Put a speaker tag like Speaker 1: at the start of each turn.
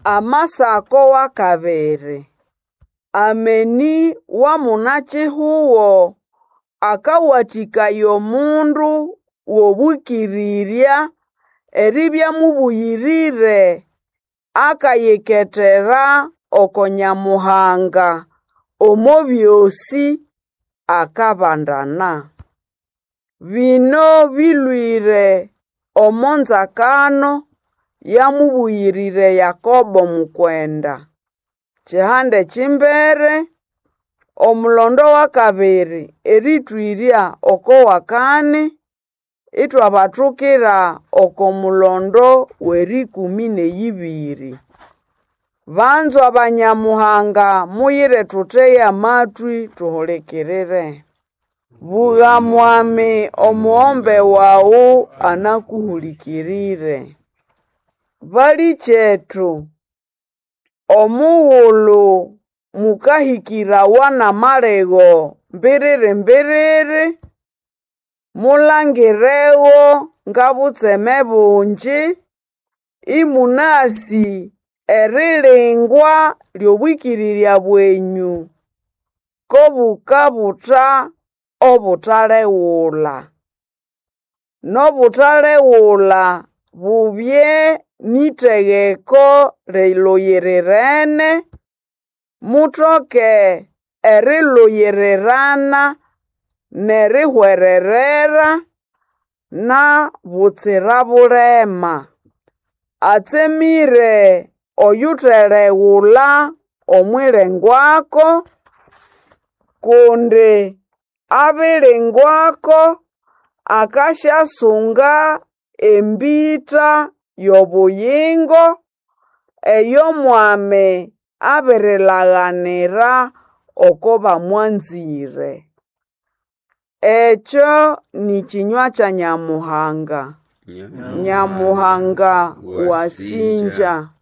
Speaker 1: Amasako w'akabiri. Ameni wa muna-kihugo akawathĩkaya omundu w'obwĩkĩrĩrya eribya mũbũyĩrĩre akayiketera oko Nyamuhanga omo byosĩ akabandana. Bino bĩlwĩre omo nzakano ya mũbũyĩrĩre Yakobo Mukwenda, kihanda eky'imbere, omulondo w'akabiri erĩtwĩrya oko wakani, ithwabathukira oko mulondo w'erĩkũmĩ n'eyibiri. Banzwa ba Nyamuhanga, muyire thuthege amatwi tuhulikirire. Bugha mwami omughombe waghu anakuhulikirire. Balĩkyetu, omughulhu mukahĩkĩrawa n'amalego mbiriri-mbiriri, mulangirego ng'obutseme bungi, ĩmũnasĩ erilingwa ly'obwĩkĩrĩrya bwenyũ ko bukabutha obutalegula. N'obutalegula bubye n'ĩtegeko lĩlũyĩrĩrene, mutoke erilũyĩrĩrana n'erihwererera na butsira bulema. Atsemĩre oyutelegula omw'ilengwako, kundi abilingwako akasyasunga embĩta y'obuyingo eyo Mwami abirilaganira oko bamwanzĩre. Ekyo nĩ kĩnywa kya Nyamuhanga. Nyamuhanga wasĩngya.